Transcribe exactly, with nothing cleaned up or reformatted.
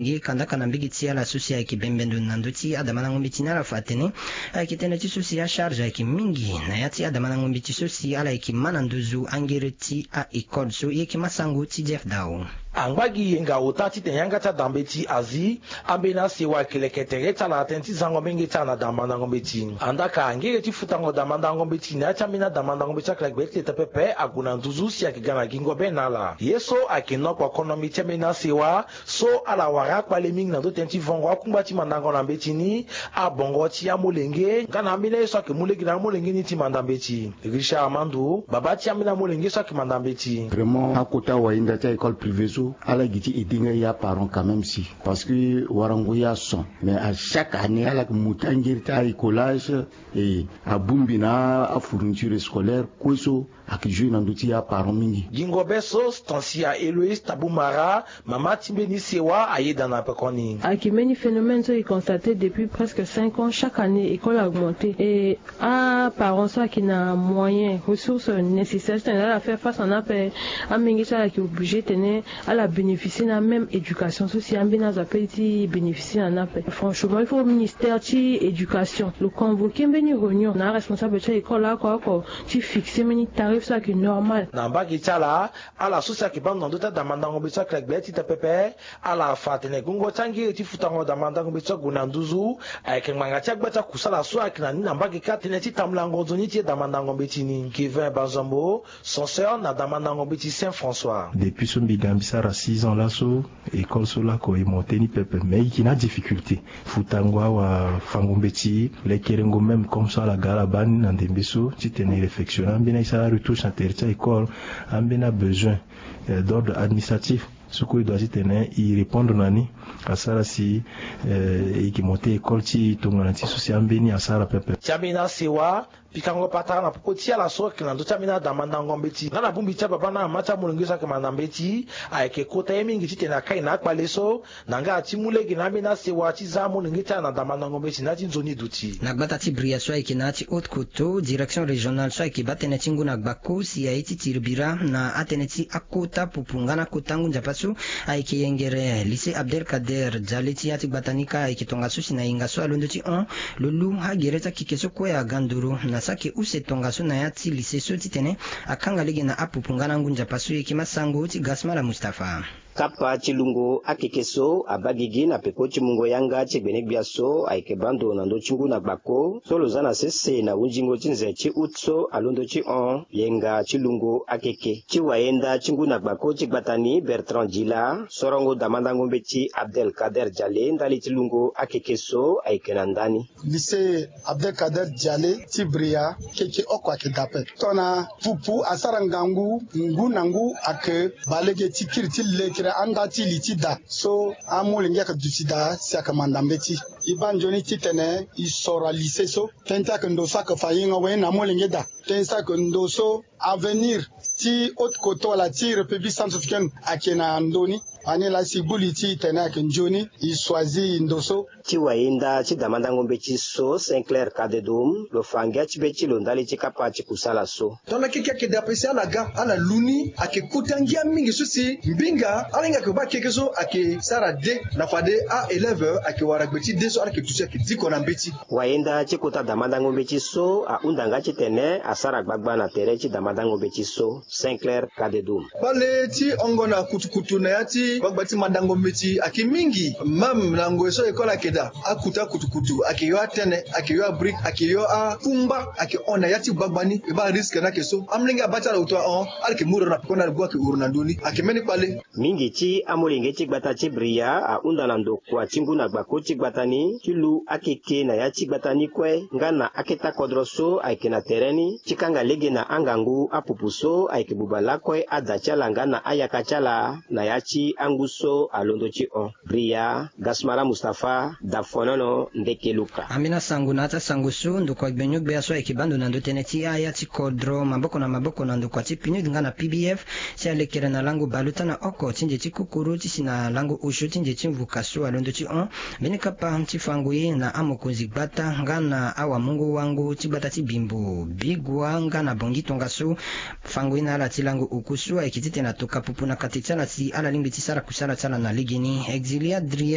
Gi kandaka na mbigi ti ala so si ayeke bembe ndo na ndö ti adamandango mbeti ni, ala fa atene ayeke tënë ti so si acharge ayeke mingi na ya ti adamandango mbeti so si ala yeke mä na nduzu angere ti a-école so. E yeke mä sango ti Jeff Dao. Angba gi yenga ota titene yanga ti adambeti azi ambeni asewa ayeke leke tere ti ala na tënë ti zango menge ti ala na dambandango mbeti. Andaka angere ti futango dambandango mbeti na ya ti ambeni adambandango mbeti akele gbe ti leta pepe ague na nduzu si ayeke ga na gingo be na ala. Ye so ayeke nokpo konomi ti ambeni asewa so ala wara akpale mingi na ndö tënë ti vongo akungba ti mandango na mbeti ni, abongo ti amolenge nga na ambeni aye so ayeke mu lege na amolenge ni ti manda mbeti. Richard Amandu, babâ ti ambeni amolenge so ayeke manda mbeti. Vraiment akota wayenda ti a-école privée so ala gi ti aider nga ye aparent quand même si, parce que warango ye ason. Mais à chaque année ala yeke mu ti angeri ti a-écolage, e abongbi na afourniture scolaire kue so ayeke jouer na ndö ti aparent mingi. Gingo be so Stancia Héloïse Taboumara, mama ti mbeni sewa, ayeda na pekoni. Ayeke mbeni phénomène so e constate depuis presque cinq ans, chaque année école a augmenté et aparent so ayeke na moyen, ressource nécessaire titene ala faire face na ni ape. Amenge so ala yeke obligé tene ala bénéficier na même éducation so si ambeni azo ape ti bénéficier na ni ape. Franchement il faut ministère ti éducation lo convoquer mbeni réunion na aresponsable ti a-école oko oko ti fixer mbeni tarif so ayeke normal. Na mbage ti ala, ala so si ayeke baa ndo na ndö ti adambandango mbeti so ayeke na gbe ti ta pepe, ala fa atene gongo ti angere ti futango dambandango mbeti so ague na nduzu ayeke ngbanga ti agba ti akusala so ayeke na ni na mbage kâ tënë ti tambulango nzoni ti e dambandango mbeti ni. Kevin Bazombo, censeur na dambandango mbeti Saint François. Depuis so mbi ga mbi sara six ans laso, école so lako e monté ni pepe, mais e yeke na adifficulté. Futango awafango mbeti, lekerengo même comme so ala ga ala baa ni na ndembe so titene e réfectionner ambeni aye ti ala retouche na tere ti a-école, ambeni abesoin d'ordre administratif so kue e doit titene e répondre na ni, asara si e yeke monté école ti e tongana ti so si ambeni asara pepe. Ti ambeni asewa, pikango patara na popo ti ala so ayeke na ndö ti ambeni adambandango mbeti nga na bongbi ti ababâ na amama ti amolenge so ayeke manda mbeti, ayeke kota ye mingi titene akai na akpale so na nga ti mu lege na ambeni asewa ti za amolenge ti ala na dambandango mbeti na ya ti nzoni duti. Na gbata ti Bria so ayeke na ya ti Haute-Kotto, direction régionale so ayeke baa tënë ti ngu na gbako si aye ti tiri bira na atënë ti akota pupu nga na akota ngu nzapa so ayeke yengere lycée Abdelkader Djale ti ya ti gbata ni kâ ayeke tongaso si na yenga so alondo ti hon lo lu agere ti akeke so kue aga nduru na so ayeke use tongaso na ya ti lycée so titene akanga lege na apupu nga na ngu nzapa so. E yeke masango ti Gasmala Mustapha. Kapa ti lungo akeke so abaa gigi na peko ti mungo yanga ti gbenegbia so ayeke baa ndo na ndö ti ngu na gbako so lo za na sese na hunzingo ti nze ti août so alondo ti hon yenga ti lungo akeke. Ti wayenda ti ngu na gbako ti gbata ni Bertrand Djila, sorongo dambandango mbeti Abdelkader Djale ndali ti lungo akeke so ayeke na ndani. Lycée Abdelkader Djale ti Bria, keke oko ayeke daa ape. Tongana pupu asara ngangu, ngu na ngu ayeke baa lege ti kiri ti lekere anda ti li ti da so amolenge ayeke duti daa si ayeke manda mbeti. E baa nzoni titene e soro alycée so, tënë ti ayeke ndo so ayeke fa yengo awe na amolenge daa. Tënë so ayeke ndo so avenir ti Haute-Kotto wala ti République centrafricaine ayeke na ndö ni. Ani laa si e gbu li ti e tene ayeke nzoni e choisir ndo so. Ti wayenda ti dambandango mbeti so, Saint Clair Cadet Dôme, lo fa ngia ti be ti lo ndali ti kapa ti kusala so. Tongana keke ayeke daa ape si ala ga ala lu ni ayeke kota ngia mingi so si mbinga ala hinga ayeke baa keke so ayeke sara de na fade a-élève ayeke wara gbe ti de so ala yeke duti ayeke diko na mbeti. Wayenda ti kota dambandango mbeti so ahunda nga titene asara gbagba na tere ti dambandango mbeti so. Saint Clair Cadet Dôme. Kpale ti hongo na kutukutu na ya ti gbagba ti mandango mbeti ayeke mingi. Même na ngoi so école ayeke daa, akuta kutukutu ayeke yo atene, ayeke yo abrique, ayeke yo akungba ayeke hon na ya ti gbagba ni. E baa risque ni ayeke so. Amolenge abaa ti ala wutu ahon, ala yeke mu ro na pekoni, ala gbu ayeke huru na ndö ni. Ayeke mbeni kpale. Mingi ti amolenge ti gbata ti Bria ahunda na ndokua ti ngu na gbako ti gbata ni ti lu akeke na ya ti gbata ni kue nga na aketa kodro so ayeke na tere ni ti kanga lege na angangu apupu so ayeke buba lakue ada ti ala nga na ayaka ti ala na ya ti angu so alondo ti hon. Bria, Gasmala Mustapha, Dafonono, Ndeke Luka. Ambeni asango na ya ti asango so, ndokua gbenyo-gbia so ayeke baa ndo na ndö tënë ti aya ti kodro maboko na maboko na ndokua ti PNUD nga na P B F, ti alekere na lango bale ota na oko ti nze ti kukuru ti si na lango osio ti nze ti mvuka so alondo ti hon. Mbeni kapa ti fango ye na amokonzi gbata nga na awamungo-wango ti gbata ti Bimbo, Bigua nga na Bangui tongaso. Fango ye na ala ti lango oku so ayeke titene atoka pupu na kate ti ala si ala lingbi ti Sara kusala ti ala na legeni. Exilia Drie